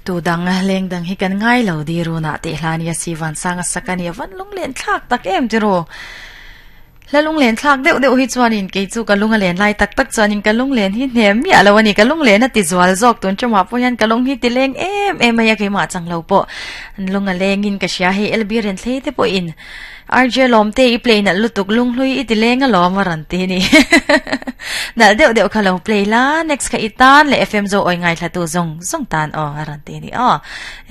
Tu dang leng dang hi kan ngai lo di runa tih hla nia si van sang a sak a nia van lunglen thlak tak em ti ru. Hla lunglen thlak deuh deuh hi chuanin kei chu ka lung a len lai tak tak chuanin ka lunglen hi hnem miah lo a ni. Ka lunglen a ti zual zawk tun ṭumah pawh hian ka lung hi ti leng em em mai a keimah chang lo pawh lung a lengin ka hria hei LB Renthlei te pawhin RJ Lawmte i play nalh lutuk lunghlui i ti leng alawm a rawn ti ni. Nalh deuh deuh kha lo play la next kha i tan leh FM zo awi ngaithla tu zawng zawng tan aw a rawn ti ni aw.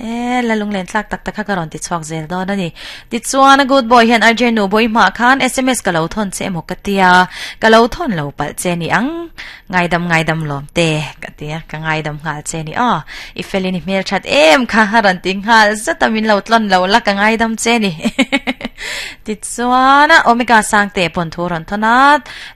E la lunglen tlak tak tak kha ka rawn ti chhuak zel dawn a ni. Tichuan a good boy hian RJ nu bawi hmah khan sms ka lo thawn che emaw ka tia ka lo thawn lo palh che ni ang ngaidam ngaidam lawm te ka tia ka ngaidam nghal che ni aw i felin i hmel that em kha a rawn ti nghal zat a min lo tlawn lo la ka ngaidam che ni tichuan omega sangte pawn thu rawn thawn a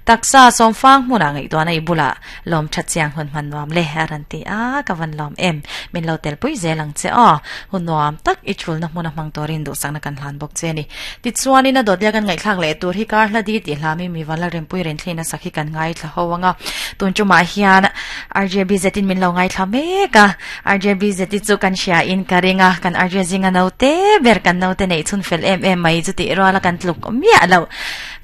taksa sawmfang hmunah ngaihtuahna i bulah Lawm that chiang hun hman nuam le a rawn ti a, ka van lawm em. Min lo tel pui zel ang che aw. Hun nuam tak i thulna hmuna hmang turin duhsakna kan hlan bawk che a ni. Tichuanin a dawtlia kan ngaihthlak leh tur hi kar hla di tih hlamin mi van la rempui renthlei nasa khi kan ngaithla ho ang a. Tun tumah hian RJBZ in min lo ngaithla mek a, RJBZ hi chu kan hria in ka ring a, kan RJ zinga naute ber kan naute neih chhun fel em em mai chu tih ruala kan tluk miah loh.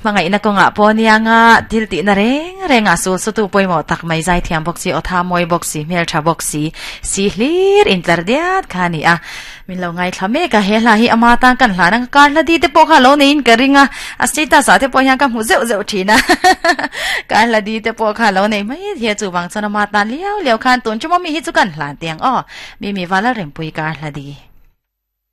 Hmangaihna kawngah pawh nia nga thil tihna reng reng a sul sutu pawimawh tak mai zaithiam bawk si, aw tha mawi bawk si, hmel tha bawk si, si hlir intlar diat kha a ni a. Min lo ngaithla mek a, he hla hi ama tan kan hlan ang, kar hla di te pawh kha lo neiin ka ring a, a status ah te pawh hian ka hmu zeuh zeuh thin a, kar hla di te pawh kha lo nei mai thei a, chuvang chuan ama tan liau liau khan tun chu mawmi hi chu kan hlan teh ang aw, Mimi Vala Rempui kar hla di.